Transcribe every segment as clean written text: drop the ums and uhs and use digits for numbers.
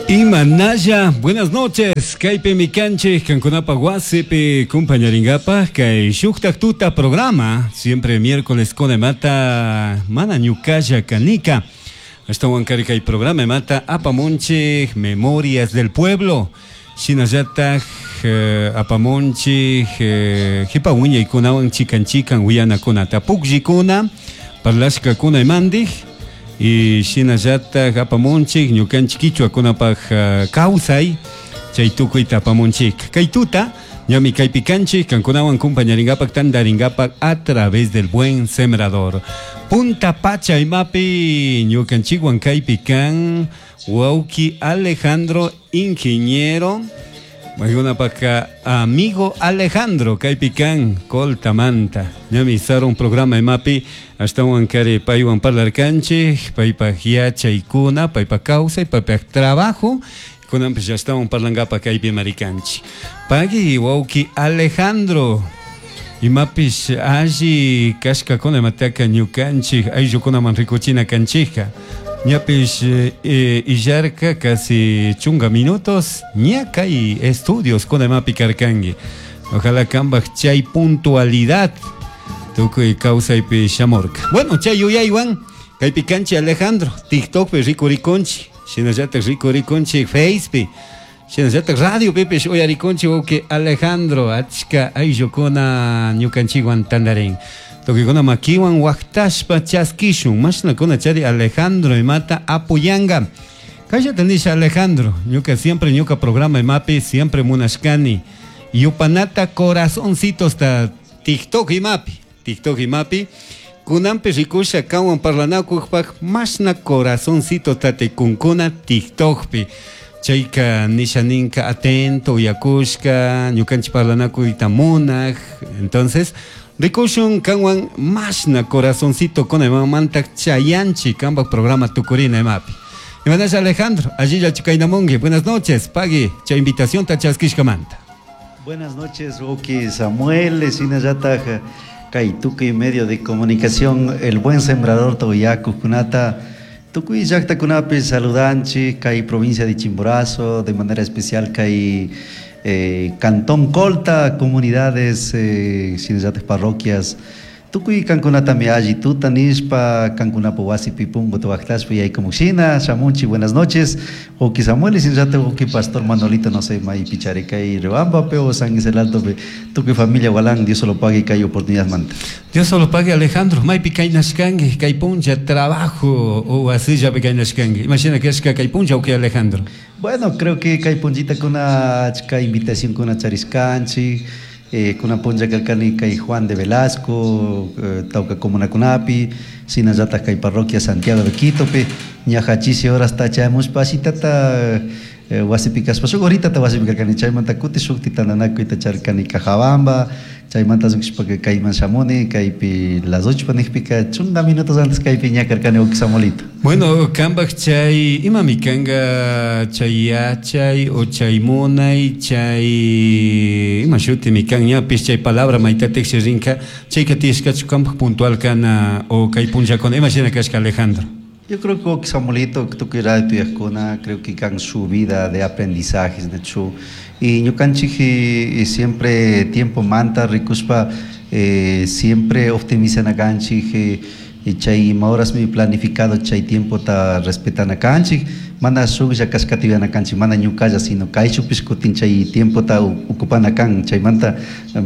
Imanalla, buenas noches. Kaypimi kanchik kankunapa wasipi kumpañaringapaj kay shuktak tuta programa siempre miércoles con mata mana ñukalla kanika. Ashtawankari kay programa mata apamunchik Memorias del Pueblo. Shinallataj apamunchik jipa wiñaykunawan chikan chikan willanakunata pukllikuna parlashkakuna imandij y shinallataj apamunchik ñukanchik kichwakunapaj kawsay chay tukuyta apamunchik. Kay tuta ñami kaypi kanchik kankunawan kumpañaringapak tantaringapak a través del Buen Sembrador. Punta pacha imapi ñukanchikwan kaypi kan wawki Alejandro ingeniero Maykunapaka amigo Alejandro kaypi kan Coltamanta. Ñami sarun programa imapi ashtawan kari paywan parlarkanchik paypaj yachaykuna paypaj kawsay paypaj trabajo kunanpish ashtawan parlankapa kaypi marikanchik. Pagui wawki Alejandro imapish alli kashkakuna imataka ñukanchik ayllukunaman rikuchina kanchikka. Ñapish illarka casi chunga minutos ña kay estudios kuna imapi karkanki. Ojalá kambaj chay puntualidad tukuy kawsaypi shamurka. Bueno, chay yuyaywan kaypi kanchik Alejandro, TikTokpi rikurikunchik, shinallatak rikurikunchik Facepi, shinallatak radiopipish uyarikunchik wawki Alejandro, achka ayllukuna ñukanchikwan tantarin. Tukuykuna makiwan waqtashpa chaskishun, mashnakuna chari Alejandro imata apoyanga. Kayllata nisha Alejandro, ñuka siempre ñuka programa imapi siempre munashkani. Yupanata corazoncitos ta TikTok imapi, TikTok imapi. Kunanpi rikusha kanwan parlanakujpaj mashna corazoncito tatikunkuna TikTokpi. Chayka nisha ninka atento uyakushka, ñukanchik parlanakuyta munaj. Entonces, rikushun kanwan mashna corazoncito kuna imamanta chayanchik kanpak programa tukurina imapi. Imanasha Alejandro, allilla chukaynamunki. Buenas noches, pagui, chay invitación ta chaskishkamanta. Buenas noches, wawki Samuel, shinallataj kay tukuy medio de comunicación El Buen Sembrador Toyakukunata, tukuy llaqtakunapi saludanchik kay provincia de Chimborazo, de manera especial kay Cantón Colta, comunidades, shinallataj parroquias, tukuy kankunatami alli tuta nishpa kankunapa wasipi punkuta waqtashpa yaykumushina shamunchik. Buenas noches, wawki Samuel, shinallataj wawki Pastor Manolito, no sé, maypi chari kay Riobambapi o San Isidro Altopi, tukuy familia Gualán, Dios solo pague kay oportunidad manta. Dios solo pague Alejandro, maypi kaynashkanki, kay puncha trabajo o wasillapi kaynashkanki. Imashina kashka kay puncha wawki Alejandro. Bueno, creo que kay punchitakuna achka invitación kuna charishkanchik, kuna puncha karkani kay Juan de Velasco, tawka comunakunapi, shinallataj kay parroquia Santiago de Quitopi, ñaja chisi horas tachamushpa ashitata wasipi kashpa shuk horitata wasipi karkani, chaymanta kuti shukti tantanakuyta charkani Cajabamba, chaymanta lluqshpa kayman shamuni, kaypi las 8 nijpika chunga minutos antes kaypi ña karkani wawki Samuelito. Bueno, kambaj chay imami kanga chay yachay o chay munay, chay ima shutimi kan ñapish chay palabra maytatik rinka, chayka tiyashkachu kambaj puntual kana o kay punllakuna, ima shina kashka Alejandro. Yo creo que wawki Samuelito, tukuy radio tuyajkuna, creo que kan su vida de aprendizajes, de hecho, y ñukanchik siempre tiempo manta rikushpa, siempre optimizana kanchik, y chay ima horas mi planificado chay tiempo ta respetana kanchik, mana shuklla kashkata yuyana kanchik, mana ñukalla, sino kayshukpish kutin chay tiempo ta ocupana kan, chaymanta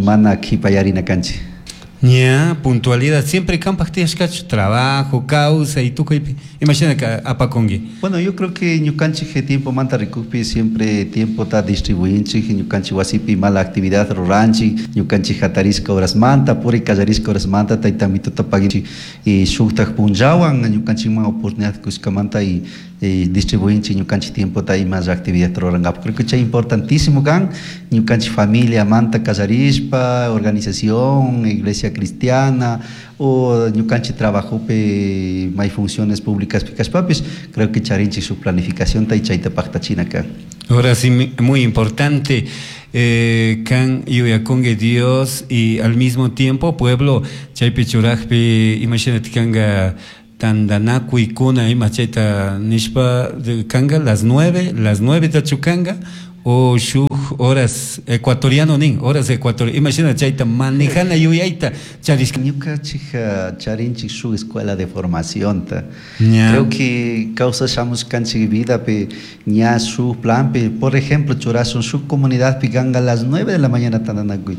mana qhipayarina kanchik. Ña, puntualidad, siempre kampaj tiyashkachu, trabajo, causa y tukuypi, imashina ka apakunki. Bueno, yo creo que ñukanchik tiempo manta rikukpi siempre tiempo ta distribuinchik, ñukanchik wasipi mala actividad ruranchik, ñukanchik hatarishka horas manta, puri kallarishka horas manta, tayta mituta paginchik, y shuktak punllawan ñukanchikman oportunidad kushkamanta y distribuinchik ñukanchik tiempo ta ima actividad rurankapak. Creo que chay importantísimo kan, ñukanchik familia manta kallarishpa, organización, iglesia cristiana, o ñukanchik trabajopi may funciones públicas kashpapis, creo que charinchik su planificación ta y chayta paqtachina kan. Ahora sí, muy importante, kan yuyakunki Dios y al mismo tiempo pueblo chaypi churajpi, imagínate kanga Tandanakuykuna ima chayta nishpa kanga las 9, las 9 tachu kanga o shuk horas ecuatoriano nin, horas ecuatoriano, imashina chayta manejana yuyayta charishka. Ñukanchik charinchik shuk escuela de formación ta. Creo que kawsashamushkanchik vidapi ña shuk planpi, por ejemplo, churashun shuk comunidadpi kanga las 9 de la mañana tandanakuy.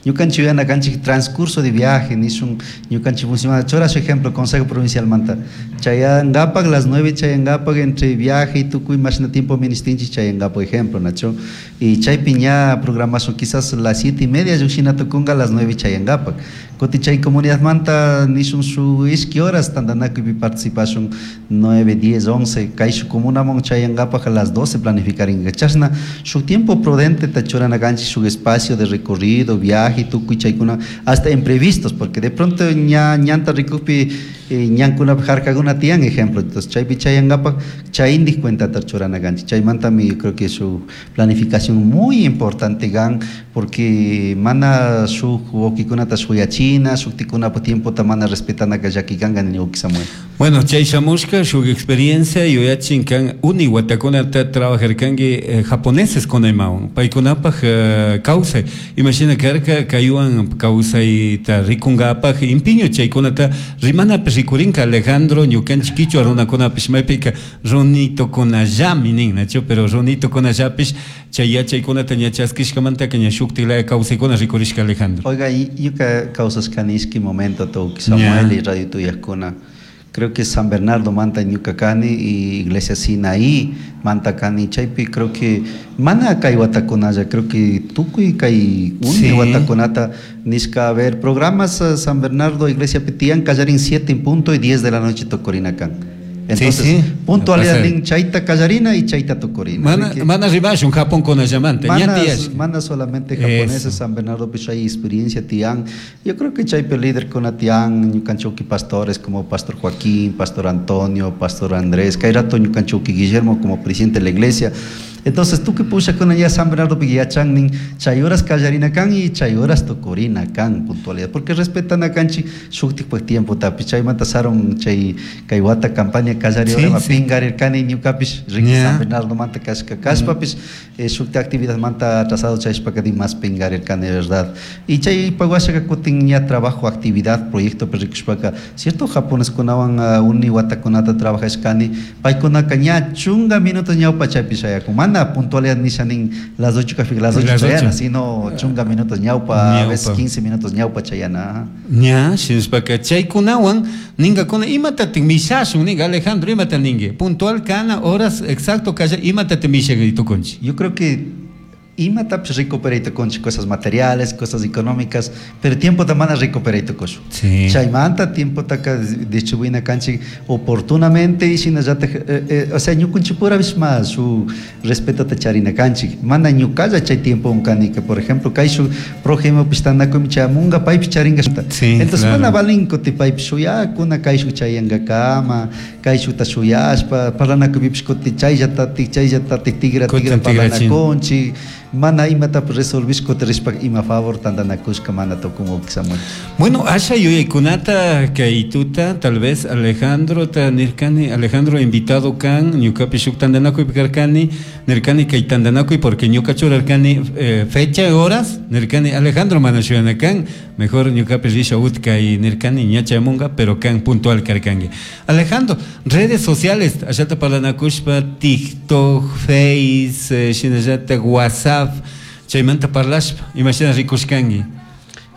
Ñukanchik yuyana kanchik transcurso de viaje nishun ñukanchik funciona churash ejemplo Consejo Provincial manta chayangapak las 9 chayangapak entre viaje y tukuy mashna tiempo ministinchik chayangapak ejemplo nacho y chaypi ña programación quizás las 7:30 llukshina tukunga las 9 chayangapak kutin chay comunidad manta nishun su ishki horas tandanakuypi participashun 9, 10, 11 kayshuk comunaman chayangapak a las 12 planificaringa chashna shuk tiempo prudente ta churana kanchik shuk espacio de recorrido viaje tukuy chaykuna hasta imprevistos porque de pronto ña ñanta rikukpi ñankunapi harkakuna tiyan ejemplo entonces chaypi chayangapak chayindik cuentata churana kanchik chaymantami yo creo que su planificación muy importante kan porque mana shuk wawkikunata shuyachina shuktikunapa tiempota mana respetanaka llaki kanka nini wawki Samuel. Bueno, chay shamushka shuk experiencia yuyachin kan uni watakunata trabajarkanki japoneses kunaymawan paykunapaj kawsay imashina karka kaywan kawsayta rikunkapak impiño chaykunata rimanapi rikurinka Alejandro ñukanchik kichwa runakunapish maypika runitukunallami nin nachu pero runitukunallapish chay yachaykunata ña chaskishkamantaka ña shuktik laya kawsaykuna rikurishka Alejandro. Oiga, ñuka kawsashkani ishki momento wawki Samuel y radio tuyakuna. Creo que San Bernardo manta ñuka kani y Iglesia Sinaí manta kani chaypi creo que mana kay watakunalla creo que tukuy kay uni watakunata nishka a ver programas San Bernardo Iglesia tiyan kallarin 7 en punto y 10 de la noche tukurina kan. Entonces, puntualidad nin chayta kallarina y chayta tukurina. Mana, mana rimashun Japón kunallamanta, ña tiyash. Mana solamente japoneses, San Bernardo pues hay experiencia tiyan. Yo creo que chaypi líder kuna tiyan, ñukanchuk pastores como Pastor Joaquín, Pastor Antonio, Pastor Andrés, kay rato ñukanchuk Guillermo como presidente de la iglesia. Entonces, tukuy pushakuna ya San Bernardo yachan nin chay horas kallarina kan y chay horas tukurina kan puntualidad porque respetan a kanchik shuktik pues tiempo tapi chaymanta sarun chay kay wata campaña kallari hora pingarirkani ñukapish riki San Bernardo manta kashka kashpapish shukti actividad manta atrasado chayshpaka más pingarirkani verdad y chay pawashaka kutin ña trabajo actividad proyecto rikushpaka cierto japoneskunawan uni watakunata trabajashkani paykunaka ña chunka minutos ñawpa chaypi shayakun mana puntualidad nisha nin las 8 café las 8 chayana sino chunka minutos ñawpa a veces 15 minutos ñawpa chayana. Ña shinashpaka chaykunawan ninkakuna imatatik mishashun ninka Alejandro imata ninki puntual kana horas exacto kalla imatatik mishakay tukunchik. Yo creo que imatapish recuperay tukunchik cosas materiales, cosas económicas, pero tiempota mana recuperay tukushun. Chaymanta tiempotaka distribuina kanchik oportunamente y shinallatak o sea ñukunchikpurapish ma su respetota charina kanchik mana ñukalla chay tiempo unkanika por ejemplo kayshuk prójimopish tandakuymi chayamunka paypish charinka. Entonces mana valin kuti paypish shuyakuna kayshuk chayankakama kayshukta shuyashpa parlanakuypipish kuti chayllatatik chayllatatik tigra tigra parlanakunchik mana imatapish resolvish kuti rishpa ima favor tandanakushka mana tukun wawki Samuel. Bueno, asha yuyaykunata kay tuta tal vez Alejandro ta nirkani Alejandro invitado kan ñukapish shuk tandanakuypi karkani nirkani kay tandanakuy porque ñuka churarkani fecha horas nirkani Alejandro mana shuyana kan mejor ñukapish risha utkay nirkani ña chayamunka pero kan puntual karkanki. Alejandro, redes sociales ashata parlanakushpa TikTok, Face, shinallatak WhatsApp chaymanta parlashpa imashina rikushkanki.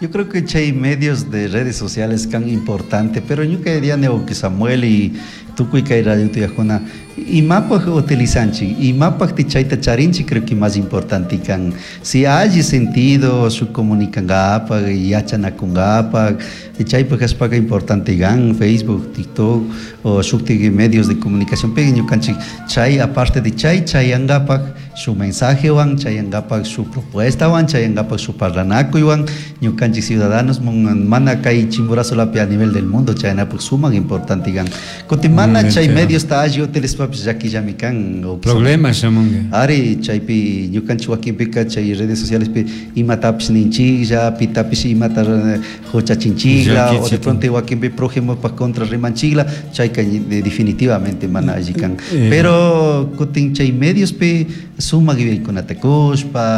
Yo creo que chay medios de redes sociales tan importante, pero ñuka diría wawki Samuel y tukuy kay radio tuyakuna imapaj utilizanchik imapaj chayta charinchik creo que más importante kan si hay sentido su comunicangapak yachanakungapak chaypaj kashpaka importante kan Facebook, TikTok o shuktik medios de comunicación pero ñukanchik chay aparte de chay chayangapak su mensajewan chayangapak su propuestawan chayangapak su parlanakuywan ñukanchik ciudadanos mana kay Chimborazo lapi a nivel del mundo chayanapak suman importante kan kutin mana Mana chay mediosta alli utilizashpapish llaquillami kan. Problema shamunga. Ari, chaypi ñukanchik wakinpika chay redes socialespi imatapish ninchiklla, pitapish imata huchachinchikla, o de pronto wakinpi prójimo contra rimanchikla, chayka definitivamente mana alli kan. Pero kutin chay mediospi sumak yuyaykunata kushpa.